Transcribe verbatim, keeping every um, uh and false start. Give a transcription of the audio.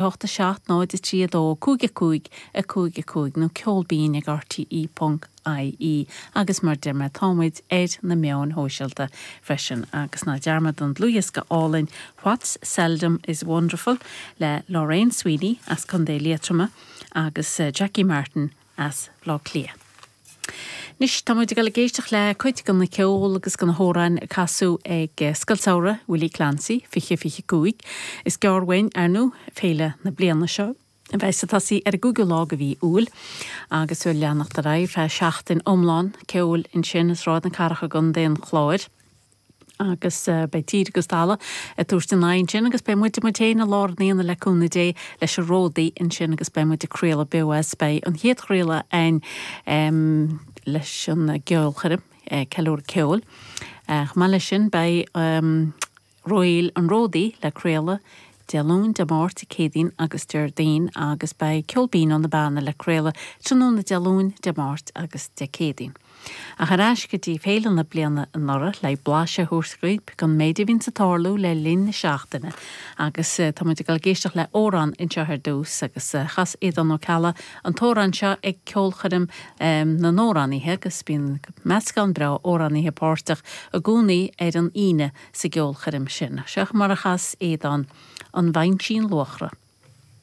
hocht a seacht náid a trí a dó cúig a cúig a cúig a cúig nó ceol binn ag RTE ponc IE agus mar deir mé táimid ar na meáin shóisialta freisin agus ná dearmad an dlúthdhiosca álainn What's Seldom is Wonderful le Lorraine Sweeney as Contae Liatroma agus Jackie Martin as Bleá Cliath. Anois tá muid ag dul ag éisteacht le cuid den cheol agus den amhráin a casadh ag Scoil Samhraidh Willie Clancy fiche fiche cúig. Is gearr uainn ar ndóigh féile na bliana seo. A bheas ag tosaí ar an gcúigiú lá de mhí Iúil agus ag leanacht ar aghaidh feadh seachtain iomlán ceoil ansin i Sráid na Cathrach i gContae an Chláir. agus uh, beidh tír agus talamh ag tabhairt a n-aghaidh ansin agus beidh muid muid féin i lár an aonaigh le cúnamh Dé leis an Ródaí ansin agus beidh muid ag craoladh beo as beidh an chéad chraoladh ann um, leis an gceolchoirm uh, ceiliúradh ceoil. Uh, Chomh maith leis sin beidh um, Royal an Ródaí le craoladh Dé Luain Dé Máirt Céadaoin agus Déardaoin agus beidh Ceol Binn ó na Beanna le craoladh tráthnóna Dé Luain Dé Máirt agus Dé Céadaoin. Ach ar ais go dtí féile na bliana anuraidh le blaiseadh a thabhairt daoibh den méid a bhíonn ag tarlú le linn na seachtaine agus tá muid ag dul ag éisteacht le amhrán anseo ar dtús agus chas Aodán Ó Ceallaigh an t-amhrán seo ag ceolchoirm na n-amhránaithe agus bíonn meascán breá amhránaithe páirteach i gcónaí ar an Aoine sa gceolchoirm sin. Seo mar a chas Aodán an Mhainsín Luachra.